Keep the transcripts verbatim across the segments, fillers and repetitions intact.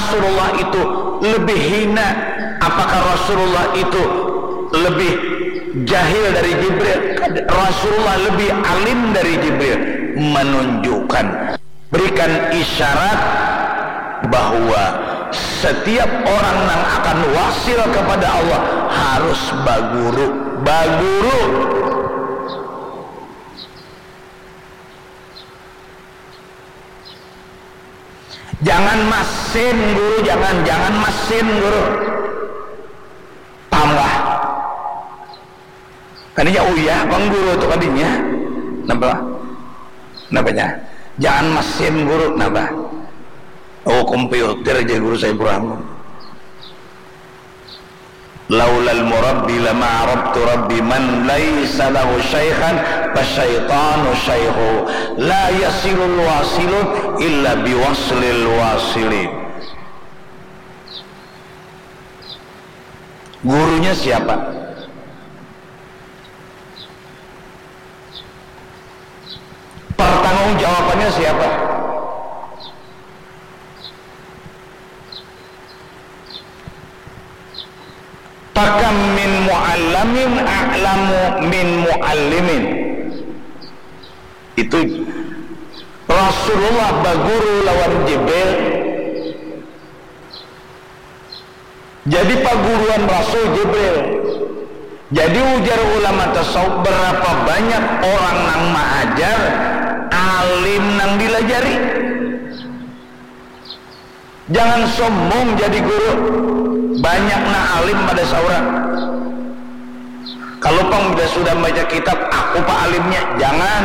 Rasulullah itu lebih hina? Apakah Rasulullah itu lebih jahil dari Jibril? Rasulullah lebih alim dari Jibril. Menunjukkan, berikan isyarat bahwa setiap orang yang akan wasil kepada Allah harus baguru, baguru. Jangan masin guru, jangan, jangan masin guru. Paham kah? Kadinya uyah pang guru tu kadinya. Napa? Napanya? Jangan masin guru, napa? Oh, komputer aja guru saya Ibrahim. Laulal murabbi lama arabtu rabbi man laisa lahu syaikhan fasyaitanu syaikhu la yasilul wasilun illa biwaslil wasilin. Gurunya siapa? Pertanggung jawabannya siapa? Pakam min mu'allamin a'lamu min mu'allimin. Itu Rasulullah baguru lawan Jibril. Jadi paguruan Rasul Jibril. Jadi ujar ulama tasawuf, berapa banyak orang nang maajar, alim nang dilajari. Jangan sombong jadi guru. Banyak nang alim pada saurang. Kalau pang sudah baca kitab, aku pak alimnya. Jangan.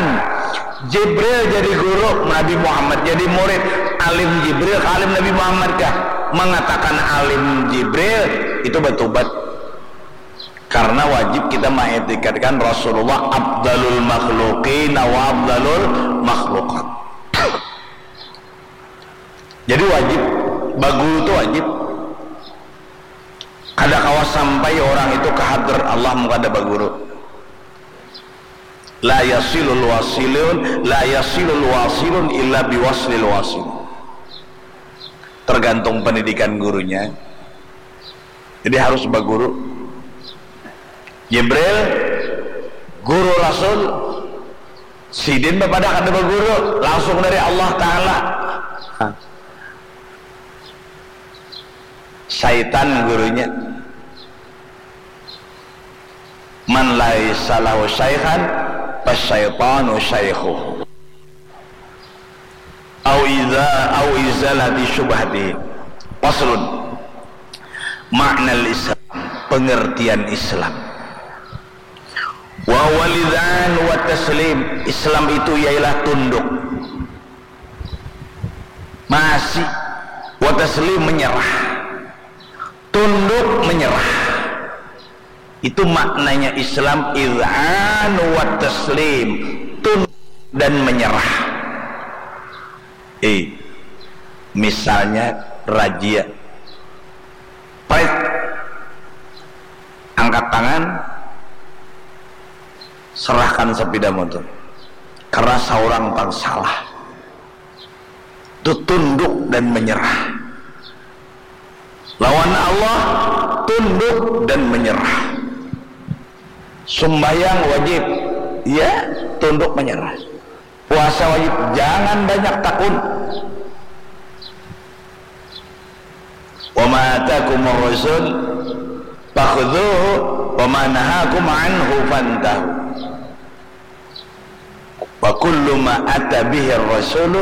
Jibril jadi guru, Nabi Muhammad jadi murid. Alim Jibril ke alim Nabi Muhammad kah? Mengatakan alim Jibril itu bertobat. Karena wajib kita mengitikadkan Rasulullah afdalul makhluqin wa afdalul makhluqat. Jadi wajib, baguru itu wajib. Kada kawa sampai orang itu ke hadrat Allah mun kada baguru. La yasilul wasilun, la yasilul wasilun illa biwaslil wasil. Tergantung pendidikan gurunya. Jadi harus baguru. Jibril, guru Rasul, sidin bapadah kada baguru, langsung dari Allah Ta'ala. Syaitan gurunya. Man laisa lahu syaikhan fasyaitanu syaikhuh. Au iza au izalati syubhati. Faslun. Makna Islam, pengertian Islam. Wa walidan wa taslim. Islam itu ialah tunduk. Masih. Wa taslim, menyerah. Tunduk menyerah. Itu maknanya Islam, iz'an wa taslim, tunduk dan menyerah. Eh, misalnya razia, prit, angkat tangan, serahkan sepeda motor karena seorang pang salah. Itu tunduk dan menyerah. Lawan Allah, tunduk dan menyerah. Sumbayang wajib, ya, tunduk menyerah. Puasa wajib, jangan banyak takun. Wa ma atakumur rasul fakhudhuhu wa ma nahakum anhu fantahu. Wa kullu ma ata bihi rasulu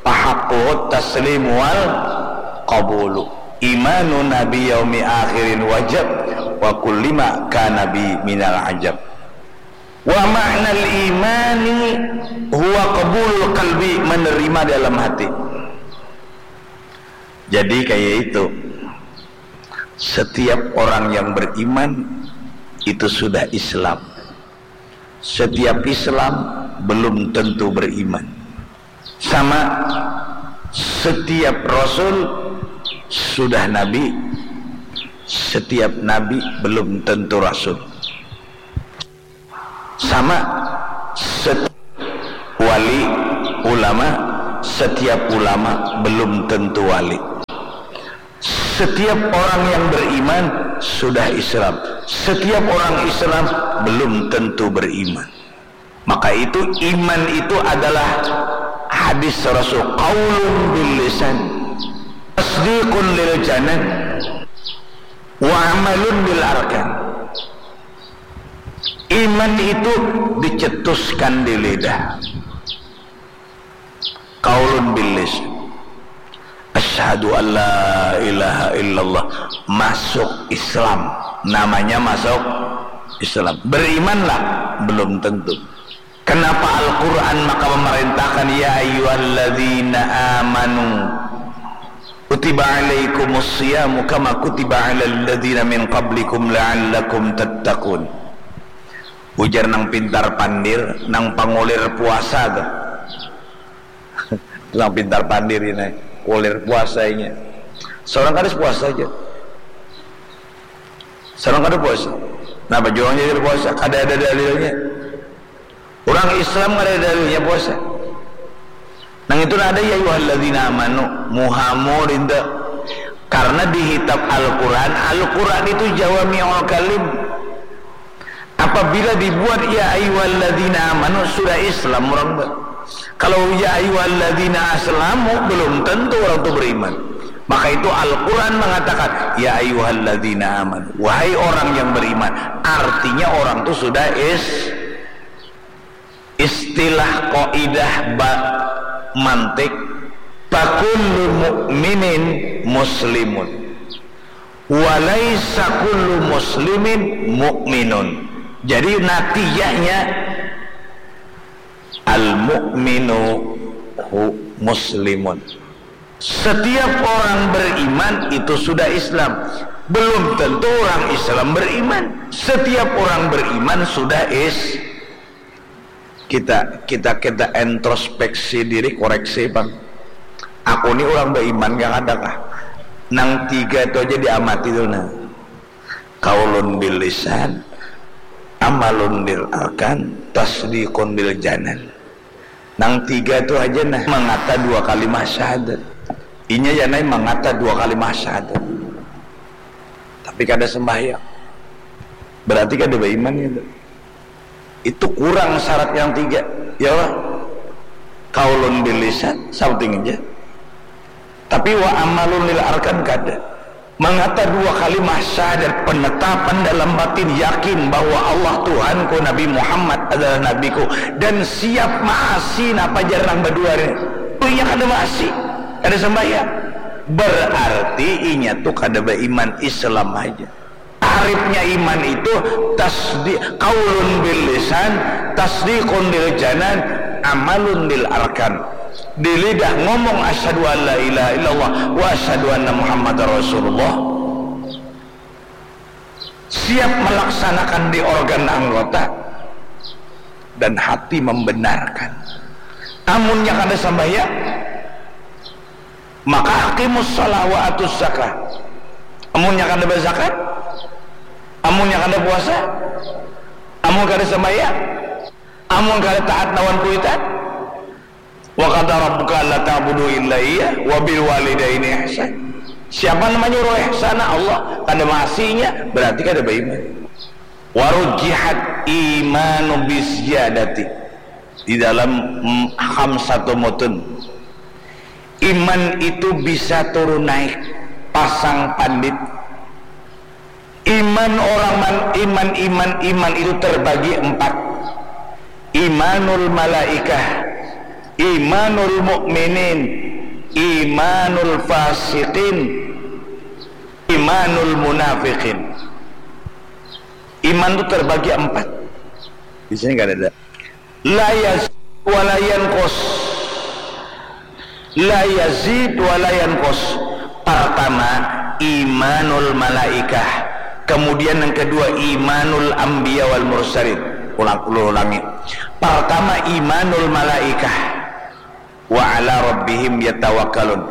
fahaqquhu taslimu wal qabulu. Imanuna bi yaumi akhirin wajab wa kullima kana bi minal ajab. Wa ma'nal imani huwa qabulul qalbi, menerima dalam hati. Jadi kayak itu, setiap orang yang beriman itu sudah Islam. Setiap Islam belum tentu beriman. Sama, setiap rasul sudah nabi, setiap nabi belum tentu rasul. Sama, setiap wali ulama, setiap ulama belum tentu wali. Setiap orang yang beriman sudah Islam. Setiap orang Islam belum tentu beriman. Maka itu, iman itu adalah hadis Rasul, qaulun bil lisan, tasdiqun lil janan, wa amalun bil arkan. Iman itu dicetuskan di lidah. Qaulun bil lisan. Asyhadu an la ilaha illallah. Masuk Islam. Namanya masuk Islam. Berimanlah? Belum tentu. Kenapa Al-Quran maka memerintahkan, "Ya ayyuhalladzina amanu, kutiba alaikumus siyamu kama kutiba alal ladzina min qablikum la'allakum tattaqun." Ujar nang pintar pandir, nang pangulir puasa tuh. Nang pintar pandir ini, kulir puasa inya. Seorang kada puasa aja. Seorang kada puasa. Napa jua urang jadi puasa? Kada ada dalilnya. Urang Islam kada ada dalilnya puasa. Nang itu ada, "Ya ayyuhalladzina amanu", muhamur itu. Karena di kitab Al-Quran, Al-Quran itu jawami'ul kalim. Apabila dibuat "Ya ayyuhalladzina amanu", sudah Islam orang tu. Kalau "Ya ayyuhalladzina aslamu", belum tentu orang tu beriman. Maka itu Al-Quran mengatakan, "Ya ayyuhalladzina amanu", wahai orang yang beriman. Artinya orang tu sudah is-, istilah kaidah ba-, mantik, "Fakullu mu'minin muslimun, wa laisa kullu muslimin mu'minun." Jadi natijanya, al-mu'minu hu-, muslimun. Setiap orang beriman itu sudah Islam. Belum tentu orang Islam beriman. Setiap orang beriman sudah is-, kita, kita, kita introspeksi diri, koreksi, pang. Aku ni orang beriman kah, kada kah? Nang tiga tu aja diamati tu, nah. Qaulun bil lisan, amalun bil arkan, tasdiqun bil janan. Nang tiga tu aja, nah, mangata dua kalimah syahadat. Inya janai mangata dua kalimah syahadat. Tapi kada sembahyang. Berarti kada beriman itu. Itu kurang syarat yang tiga. Ya Allah. Qaulun bil lisan, shouting aja. Tapi wa amalun lil arkan kada. Mangata dua kalimah syahadat, penetapan dalam batin, yakin bahwa Allah Tuhanku, Nabi Muhammad adalah nabiku, dan siap maasi napa jar nang badua ni. Oh, inya kada maasi, kada sembahyang. Berarti inya tu kada beriman, Islam aja. Tarifnya iman itu tasdi-, qaulun bil lisan, tasdiqun bil janan, amalun bil arkan. Di lidah ngomong, "Asyhadu an la ilaha illallah wa asyhadu anna Muhammadar Rasulullah." Siap melaksanakan di organ anggota dan hati membenarkan. Amunnya kada sembahyang, maka aqimus shalah wa atuz zakah. Amunnya kada bazakat, amunnya kada puasa, amun kada sembahyang, amun kada taat lawan kuitan, wa qada rabbuka alla ta'budu illa iya wa bil walidaini ihsan. Siapa namanya orang ihsan? Allah. Kada maasinya, berarti kada beriman. Warujihat imanu bisyadati. Di dalam, mm, khamsatu mutun, iman itu bisa turun naik, pasang pandit. Iman orang man-, iman, iman, iman itu terbagi empat. Imanul malaikah, imanul mukminin, imanul fasiqin, imanul munafiqin. Iman itu terbagi empat. Di sini nggak ada. La yazid wa la yanqus. La yazid wa la yanqus. Pertama, imanul malaikah. Kemudian yang kedua, imanul anbiya wal mursalin. Ulang, ulangi. Pertama, imanul malaikah. Wa ala rabbihim yatawakkalun.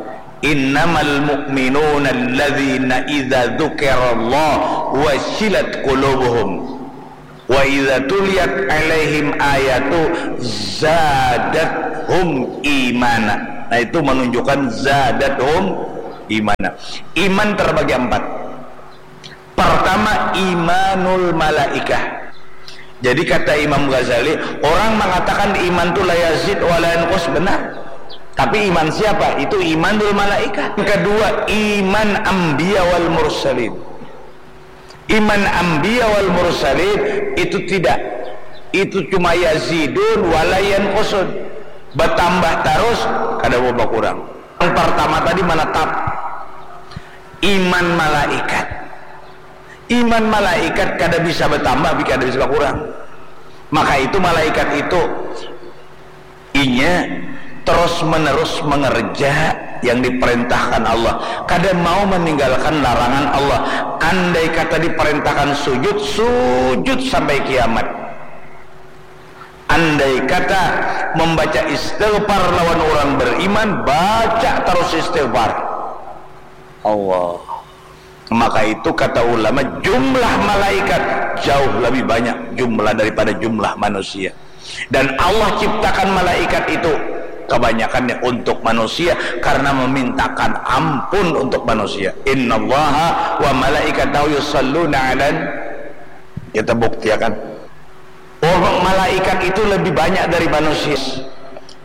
Innamal mu'minuna alladzina idza dzukirallah wajilat qulubuhum. Wa idza tuliyat alaihim ayatu zadathum imana. Nah, itu menunjukkan zadathum Iman. Iman terbagi empat. Pertama, imanul malaikah. Jadi kata Imam Ghazali, orang mengatakan iman tu la yazid wa la yanqus, benar. Tapi iman siapa? Itu imanul malaikah. Yang kedua, iman anbiya wal mursalin. Iman anbiya wal mursalin itu tidak. Itu cuma yazidun wa la yanqusun. Bertambah terus, kada mau berkurang. Yang pertama tadi menetap. Iman malaikat. Iman malaikat kada bisa bertambah, kada bisa berkurang. Maka itu malaikat itu inya terus menerus mengerja yang diperintahkan Allah, kada mau meninggalkan larangan Allah. Andai kata diperintahkan sujud, sujud sampai kiamat. Andai kata membaca istighfar lawan orang beriman, baca terus istighfar. Allah. Maka itu kata ulama, jumlah malaikat jauh lebih banyak jumlah daripada jumlah manusia. Dan Allah ciptakan malaikat itu kebanyakannya untuk manusia karena memintakan ampun untuk manusia. Innallaha wa malaikatahu yusalluna alan. Kita buktiakan. Oh, malaikat itu lebih banyak dari manusia.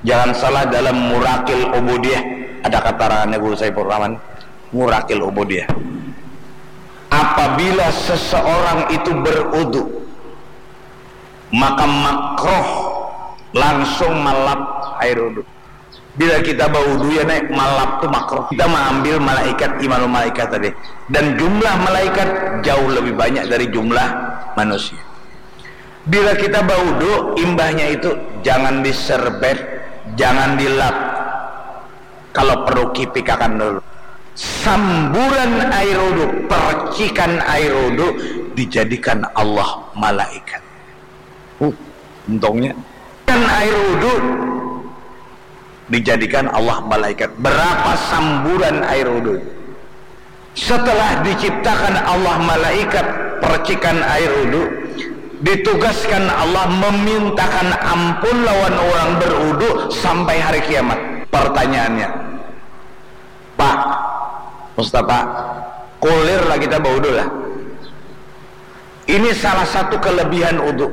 Jangan salah, dalam Murakil Ubudiyah ada keterangannya Guru Saifur Rahman. Murakil Ubudiyah. Apabila seseorang itu berudu, maka makruh langsung malap air udu. Bila kita baudu ya, naik malap tu makruh. Kita mengambil malaikat, imanul malaikat tadi. Dan jumlah malaikat jauh lebih banyak dari jumlah manusia. Bila kita baudu, imbahnya itu jangan diserbet, jangan dilap. Kalau perlu kipikakan dulu. Samburan air udu, percikan air udu dijadikan Allah malaikat. Uh, untungnya. Dan air udu dijadikan Allah malaikat. Berapa samburan air udu? Setelah diciptakan Allah malaikat percikan air udu, ditugaskan Allah memintakan ampun lawan orang berudu sampai hari kiamat. Pertanyaannya, Pak Mustafa, kulir lah kita baudu lah. Ini salah satu kelebihan udu.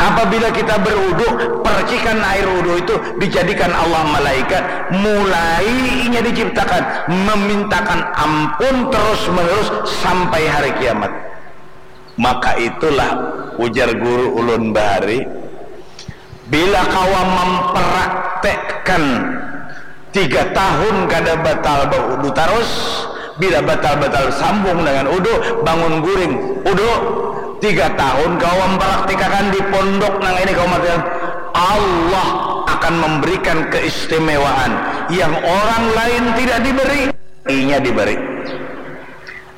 Apabila kita berudu, percikan air udu itu dijadikan Allah malaikat, mulai inya diciptakan, memintakan ampun terus-menerus sampai hari kiamat. Maka itulah ujar guru ulun bahari, bila kawa mempraktekkan tiga tahun kada batal baudu tarus, bila batal-batal sambung dengan udu, bangun guring, udu, tiga tahun kawa mempraktekan di pondok nang ini kawa mati, Allah akan memberikan keistimewaan yang orang lain tidak diberi, inya diberi.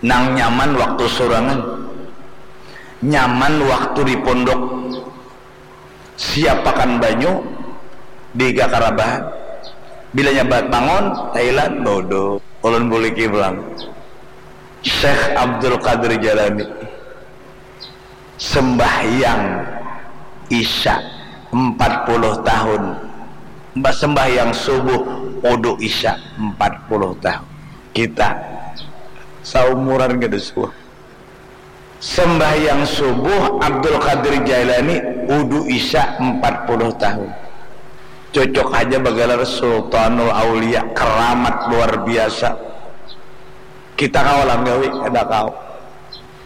Nang nyaman waktu surangan, nyaman waktu di pondok. Siapakan banyu, diga karabahan. Bila nyabat bangun, Thailand, bodoh. Ulun buliki pulang. Syekh Abdul Qadir Jalani sembahyang Isya empat puluh tahun. Mbah sembahyang subuh, udu Isya empat puluh tahun. Kita saumuran kada suah. Sembahyang subuh Abdul Qadir Jailani, udu Isya empat puluh tahun. Cocok haja bagalar Sultanul Aulia, keramat luar biasa. Kita kawa lah gawi, kada kawa.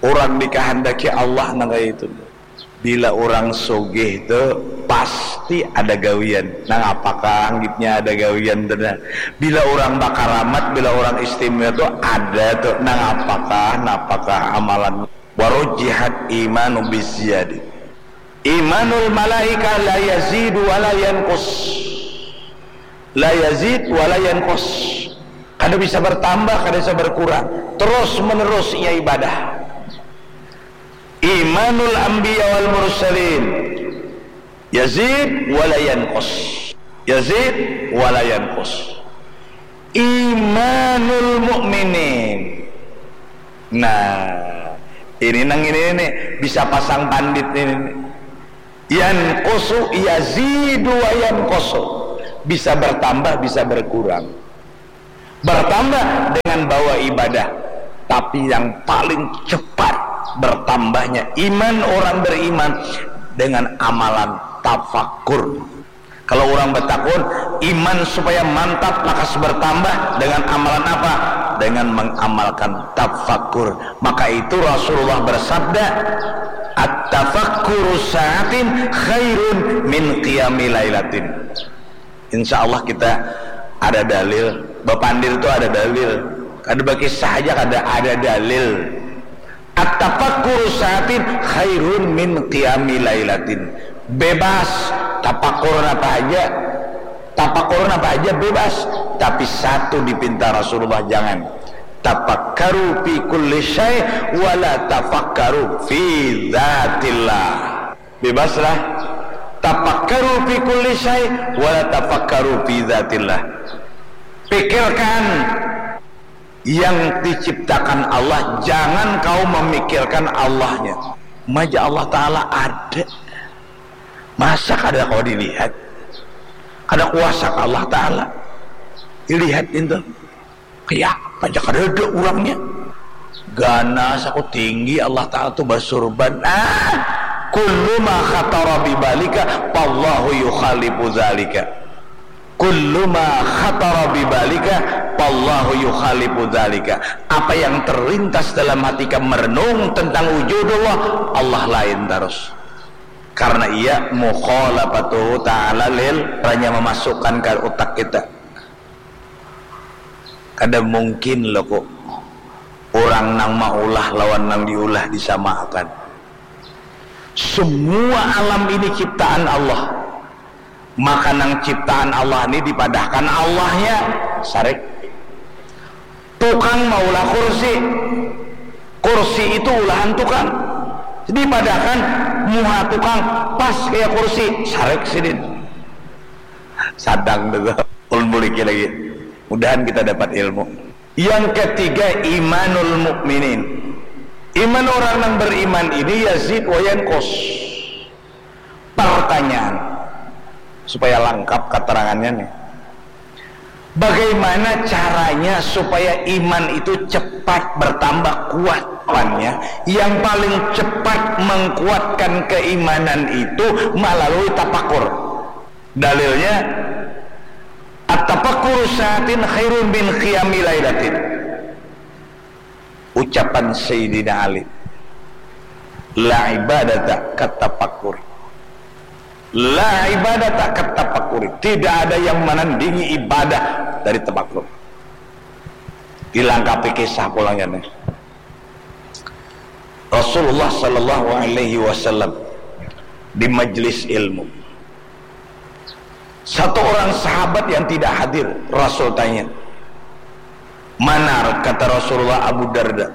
Urang dikahandaki Allah nang kaya itu. Bila urang sugih tu pasti ada gawian. Nang apakah anggitnya ada gawian tu nah. Bila urang bakaramat, bila urang istimewa tu ada tu. Nang apakah, napakah amalan. Warujjihat imanu biziyadi. Imanul malaikah la yazidu wa la yanqus. La yazid wa la yanqus. Kada bisa bertambah, kada bisa berkurang. Terus menerus ia ibadah. Imanul anbiya wal mursalin yazid wa la yanqus. Yazid wa la yanqus. Imanul mu'minin. Nah, ini nang ini nih, bisa pasang pandit ini nih. Yanqusu yazidu wa yanqusu. Bisa bertambah, bisa berkurang. Bertambah dengan bawa ibadah, tapi yang paling cepat bertambahnya iman orang beriman dengan amalan tafakur. Kalau orang bertakun, iman supaya mantap lakas bertambah dengan amalan apa? Dengan mengamalkan tafakur. Maka itu Rasulullah bersabda, "At-tafakkuru sa'atin khairun min qiyami lailatin." Insya Allah kita ada dalil. Bapandir tu ada dalil. Kada bakisah aja, kada, ada dalil. At-tafakkuru sa'atin khairun min qiyami lailatin. Bebas, tapakur apa aja. Tapakur apa aja bebas. Tapi satu dipinta Rasulullah, jangan. Tafakkaru fi kulli syai' wala tafakkaru fi dzatillah. Bebaslah. Tafakkaru fi kulli syai' wala tafakkaru fi dzatillah. Pikirkan yang diciptakan Allah, jangan kau memikirkan Allahnya. Maja Allah Ta'ala ada. Masa kada kau dilihat? Ada kuasa Allah Ta'ala. Dilihat itu. Kayak apa aja kada ada orangnya. Ganas aku tinggi, Allah Ta'ala tu basurban. Ah, kullu ma khatara bibalika fallahu yukhalifu dzalika. Kullu ma khatara bibalika fallahu yukhalifu dzalika. Apa yang terlintas dalam hati kamu merenung tentang wujudullah, Allah lain terus. Karena ia mukhalafatuhu ta'ala lil, hanya memasukkan ke utak kita. Kada mungkin lo kok orang nang maulah lawan nang diulah disamakan. Semua alam ini ciptaan Allah. Maka nang ciptaan Allah ni dipadahkan Allahnya, sarik. Tukang maulah kursi, kursi itu ulahan tukang. Dipadahkan muha tukang pas kaya kursi, sarik sidin. Sadang tu. Ulun buliki lagi. Mudahan kita dapat ilmu. Yang ketiga, imanul mukminin. Iman orang yang beriman ini yazid wa yanqus. Pertanyaan supaya lengkap keterangannya nih. Bagaimana caranya supaya iman itu cepat bertambah kuat? Jawabannya, yang paling cepat mengkuatkan keimanan itu melalui tapakur. Dalilnya, at-tafakkuru sa'atin khairun min qiyami lailatin. Ucapan Sayyidina Ali, "La ibadata katafakkuri." La ibadata katafakkuri. Tidak ada yang menandingi ibadah dari tafakur. Dilengkapi kisah pulangnya nih. Rasulullah sallallahu alaihi wasallam di majlis ilmu. Satu orang sahabat yang tidak hadir, Rasul tanya, "Manar?" Kata Rasulullah, "Abu Darda."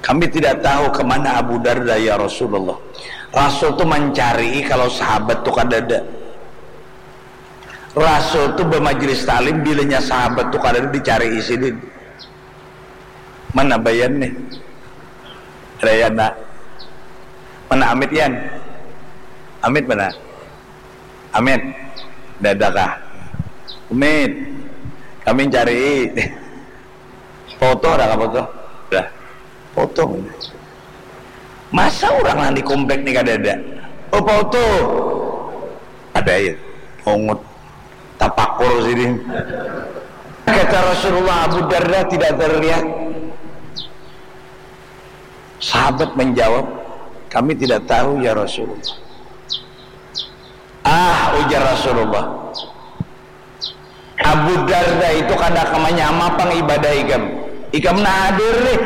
"Kami tidak tahu ke mana Abu Darda, ya Rasulullah." Rasul tu mencari kalau sahabat tu kadada. Rasul tu bermajlis taklim, bilanya sahabat tu kadada dicari sidin. Mana Bayan nih? Ada Yan, nak. Mana Amit, Yan? Amit mana? Amit. Dadakah? Amit. Kami cari. Foto ada apa foto? Dah. Foto. Masa orang nang di komplek ni kada ada? Oh, foto. Ada ya. Ongut. Tapakur sini. Kata Rasulullah, "Abu Darda tidak terlihat." Sahabat menjawab, "Kami tidak tahu, ya Rasulullah." "Ah," ujar Rasulullah, "Abu Darda itu kada kama nyama pang ibadah ikam. Ikam nah hadir nih,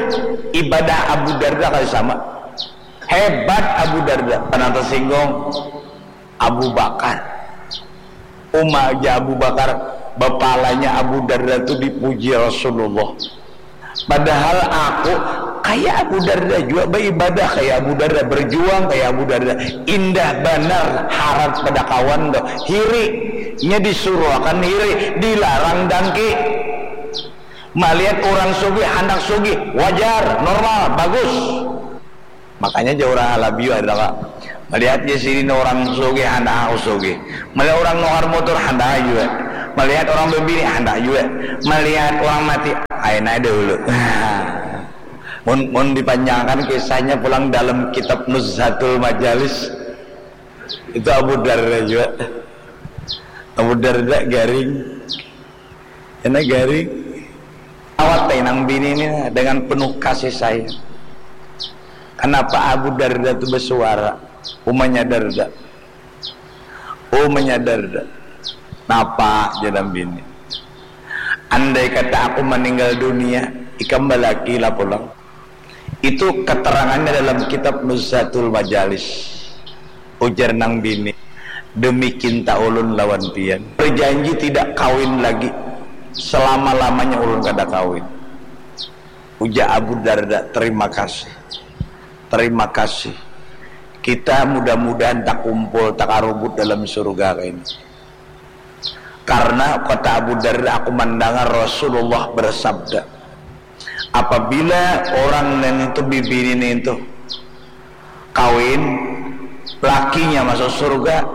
ibadah Abu Darda kada sama. Hebat Abu Darda." Pernah tersinggung Abu Bakar. Uma aja Abu Bakar, bapalanya Abu Darda tu dipuji Rasulullah. Padahal aku kaya Abu Darda jua, baibadah kaya Abu Darda, berjuang kaya Abu Darda. Indah banar harat pada kawan tu. Hiri, nya disuruh akan hiri, dilarang dangki. Malihat urang sugih handak sugih, wajar, normal, bagus. Makanya ja urang Halabiu ada ka. Malihat ja sidin urang sugih handak aku sugih. Malihat urang nukar mutur handak jua. Melihat orang berbini, handak juga. Melihat orang mati, aina dahulu. Mun, mun dipanjangkan kisahnya pulang dalam kitab Nuzhatul Majalis, itu Abu Darda juga. Abu Darda garing. Kena garing. Awat nang bini ni dengan penuh kasih sayang. Kenapa Abu Darda tu bersuara? Umanya Darda. Umanya Darda. Napa, jar nang bini? Andai kata aku meninggal dunia, ikam balaki lah pulang. Itu keterangannya dalam kitab Nuzhatul Majalis. Ujar nang bini, demi cinta ulun lawan pian, berjanji tidak kawin lagi. Selama-lamanya ulun kada kawin. Ujar Abu Darda, terima kasih. Terima kasih. Kita mudah-mudahan takumpul, takarubut dalam surga ini. Karena kata Abu Darda, aku mendengar Rasulullah bersabda, apabila orang nintu, bibini nintu kawin, lakinya masuk surga,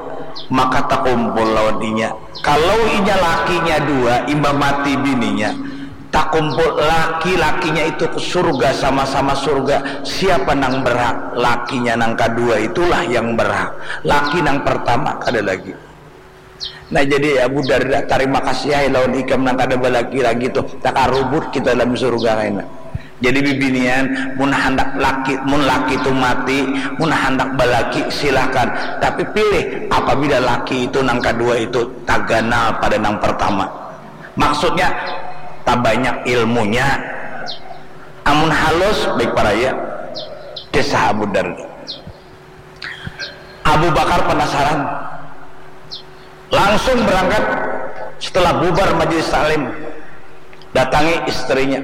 maka takumpul lawan inya. Kalau inya lakinya dua, imbah mati bininya, takumpul laki-lakinya itu ke surga, sama-sama surga. Siapa nang berhak? Lakinya nang kadua itulah yang berhak. Laki nang pertama kada lagi. Nah, jadi Abu Darda, tarima kasih ai lawan ikam nang kada balaki lagi tuh, takarubut kita dalam surga kaina. Jadi bibinian, mun handak laki, mun laki tu mati, mun handak balaki silahkan, tapi pilih apabila laki itu nang kadua itu taganal pada nang pertama. Maksudnya tabanyak ilmunya. Amun halus baik paraya. Kisah Abu Darda. Abu Bakar penasaran. Langsung berangkat setelah bubar majelis taklim. Datangi istrinya.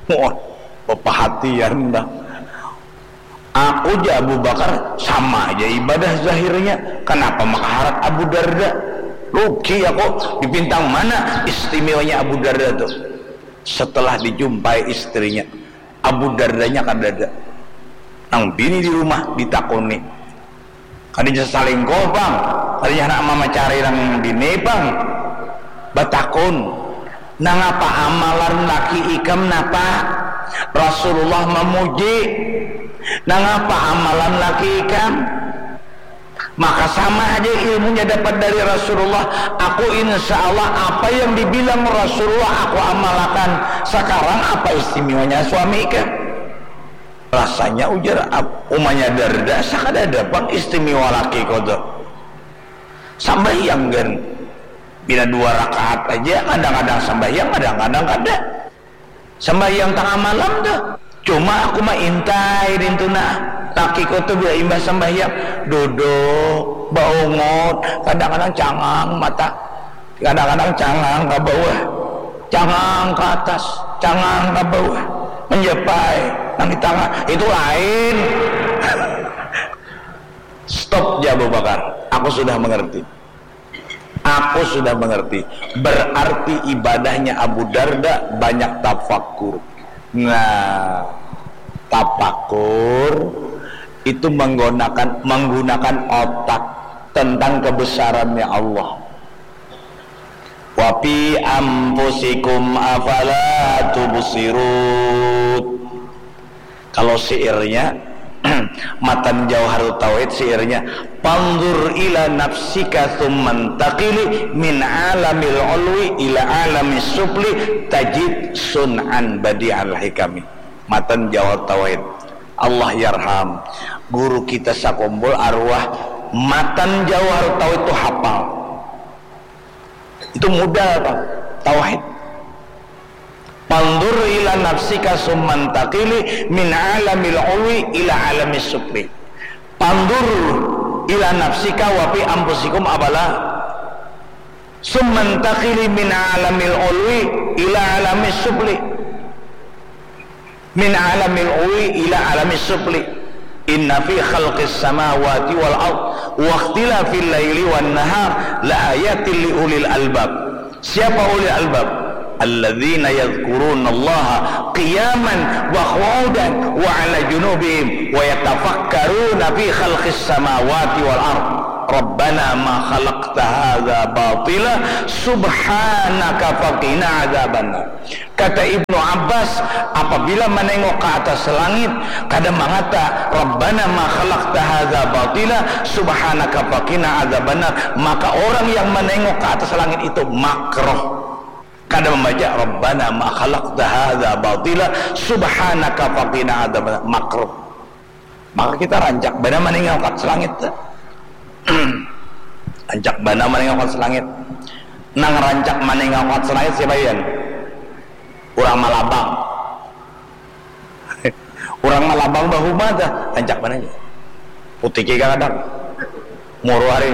Wah, pepahatian dah. Aku ja Abu Bakar, sama aja ibadah zahirnya. Kenapa makaharat Abu Darda? Rugi aku, di bintang mana istimewanya Abu Darda tuh? Setelah dijumpai istrinya, Abu Dardanya kadada. Nang bini di rumah ditakuni. Kadanya salingkuh pang, kadanya handak mamacari nang bini pang. Batakun, nangapa amalan laki ikam napa? Rasulullah mamuji. Nangapa amalan laki ikam? Maka sama aja ilmunya dapat dari Rasulullah. Aku insya Allah apa yang dibilang Rasulullah aku amalkan. Sekarang apa istimewanya suami ikam? Rasanya ujar umanya Darda, sakadada pang istimewa laki kau tuh. Sambahyang kan, bila dua rakaat aja kadang-kadang sambahyang, kadang-kadang kada. Sambahyang tangah malam tuh. Cuma aku mah intai dintu nah. Lakiku tuh bila imbah sambahyang, duduk, baungut, kadang-kadang cangang mata, kadang-kadang cangang ke bawah, cangang ke atas, cangang ke bawah, menjepai nang di tangah. Itu lain. Stop ja Abu Bakar. Aku sudah mengerti. Aku sudah mengerti. Berarti ibadahnya Abu Darda banyak tafakur. Nah, tafakur itu menggunakan menggunakan otak tentang kebesarannya Allah. Wa fi anfusikum afala tubsirun. Kalau syairnya, matan Jauharut Tauhid syairnya, panzur ila nafsika tsumma taqili min alamil ulwi ila alamis sufli tajid sun'an badi'al hikami. Matan Jauharut Tauhid. Allah yarham guru kita sakumpul arwah, matan Jauharut Tauhid tu hapal. Itu modal, Pak. Tauhid. Panzur ila nafsika tsumma taqili min alamil ulwi ila alamis sufli. Panzur ila nafsika wa fi anfusikum afala tsumma taqili min alamil ulwi ila alamis sufli. Min alamil ulwi ila alamis sufli. Inna fi khalqis samawati wal ard wa ikhtilafil laili wan nahar la ayatil li ulil albab. Siapa ulil albab? Alladzina yadzkurunallaha qiyaman wa qu'udan wa ala junubihim wa yatafakkaruna fi khalqis samawati wal ard. Rabbana ma khalaqta hadza batila subhanaka faqina adzabannar. Kata Ibnu Abbas, apabila manengok ka atas langit, kada mangata, "Rabbana ma khalaqta hadza batila, subhanaka faqina adzabannar," maka orang yang manengok ka atas langit itu makruh. Kada mambaca, "Rabbana ma khalaqta hadza batila, subhanaka faqina adzabannar," makruh. Maka kita rancak banar maninggalkan selangit tu. Rancak banar maninggalkan selangit. Nang rancak maninggalkan selangit siapa, Yan? Urang Malabang. Urang Malabang bahuma tu, rancak banar. Putiki kadang. Muru hari.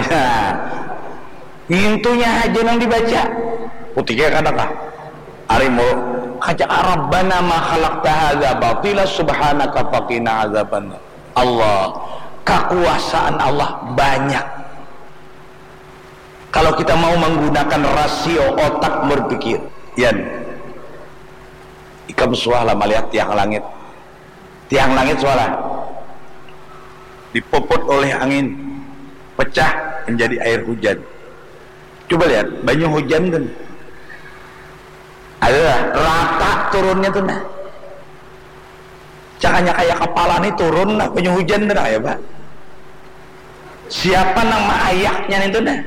Ngintunya haja nang dibaca. Putiki kadang kah? Ari mulu, kaca, "Rabbana ma khalaqta hadza batila subhanaka faqina adzabannar." Allah, kakuasaan Allah banyak. Kalau kita mau menggunakan rasio otak berpikir, Yan, ikam suah lah malihat tiang langit. Tiang langit suara dipopot oleh angin, pecah menjadi air hujan. Coba lihat, banyu hujan tu. Adalah rata turunnya tu nah. Cakanya kaya kepala ni turun nah, banyu hujan tu nah, ya, Pak. Siapa nang maayaknya ni tu nah?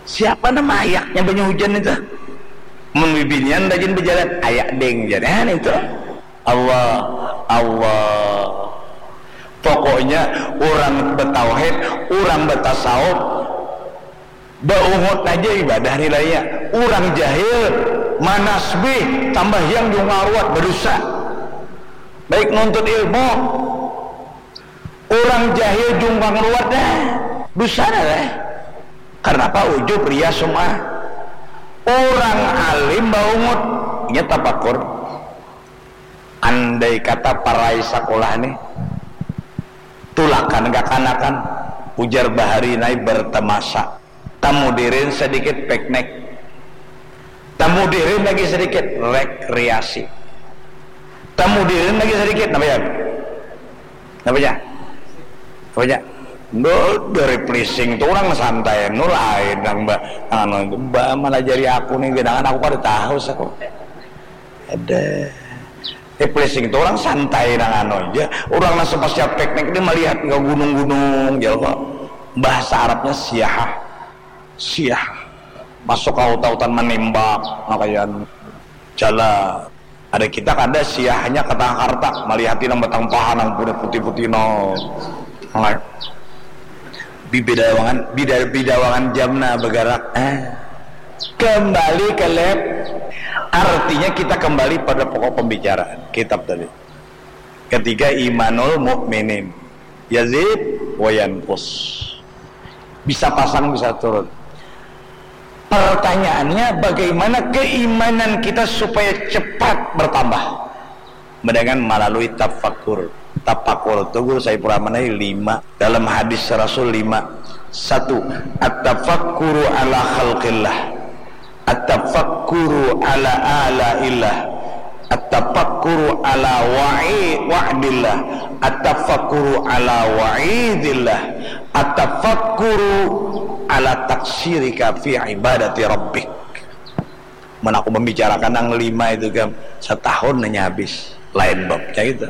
Siapa nang maayaknya banyu hujan itu? Mun bibinian rajin berjalan, ayak ding, jar. Eh, itu. Allah, Allah. Pokoknya, urang betauhid, urang betasawuf, baungut aja ibadah nilainya. Urang jahil, manasbih, tambah yang jungkang ruat, berdosa. Baik nuntut ilmu, urang jahil jungkang ruat dah, dosa dah. Karena apa? Ujub, ria, sum'ah. Urang alim baungut, inya tapakur. Andai kata parai sakulah ni, tulakan kakanakan, ujar bahari nai bertemasa. Tamudirin sedikit piknik. Tamudirin lagi sedikit rekreasi. Tamudirin lagi sedikit, napa ya? Napa ya? Napa ya? Duh, dari plising tu urang santai, nu lain nang ba, anu, ba, malajari aku ni, genangan aku kada tahu, saku. Ada. Eh, plising tu urang santai nang anu aja. Urang nang sepasca piknik ni malihat ka gunung-gunung, jar kok. Bahasa Arabnya siyahah. Siyahah. Masuk ka hutan-hutan manimbak, nang kaya anu. Jala. Ada kita kada siyahnya ka Takarta, malihati nang batang paha nang putih-putih nang. Nang Bibidawangan, bida-, bidawangan jamna bagarak. Ah. Kembali ke lab. Artinya kita kembali pada pokok pembicaraan kitab tadi. Ketiga, imanul mukminin yazid wa yanqus. Bisa pasang, bisa turun. Pertanyaannya, bagaimana keimanan kita supaya cepat bertambah? Dengan melalui tafakur. Tafakur tu, Guru Saiful Rahman, ai lima. Dalam hadis Rasul lima. Satu, at-tafakkuru ala khalqillah. At-tafakkuru ala alaillah. At-tafakkuru ala wa'i-, wa'dillah. At-tafakkuru ala wa'idillah. At-tafakkuru ala taksirika fi ibadati rabbik. Mun aku membicarakan nang lima itu, kan, setahun hanya habis. Lain babnya itu.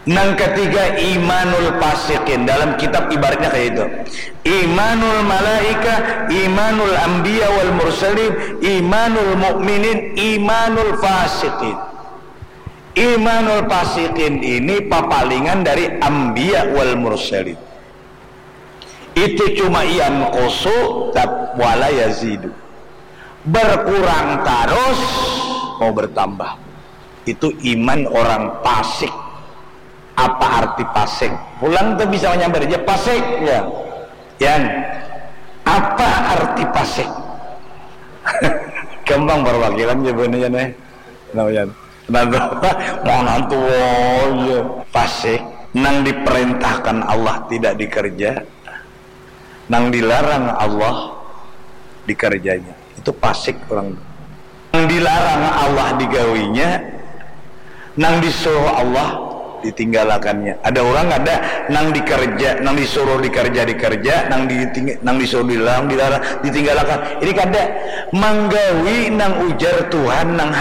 Nang ketiga, imanul fasiqin. Dalam kitab ibaratnya kayak itu. Imanul malaika, imanul anbiya wal mursalin, imanul mukminin, imanul fasiqin. Imanul fasiqin ini papalingan dari anbiya wal mursalin. Itu cuma yanqusu, tap-, wala yazidu. Berkurang terus, mau bertambah. Itu iman orang fasik. Apa arti fasik? Pulang tu bisa menyambar aja, fasik, ya. Yan, apa arti fasik? Gampang perwakilan jawabannya, Yan, eh. Kenapa, Yan? Kenapa? Mau nantu, oh, iya. Fasik, nang diperintahkan Allah tidak dikerja, nang dilarang Allah dikerjanya. Itu fasik orang. Nang dilarang Allah digawinya, nang disuruh Allah ditinggalakannya. Ada urang kada nang dikerja, nang disuruh dikerja, dikerja, nang diting-, nang disuruh dilarang, dilarang, ditinggalakan. Ini kada, manggawi nang ujar Tuhan nang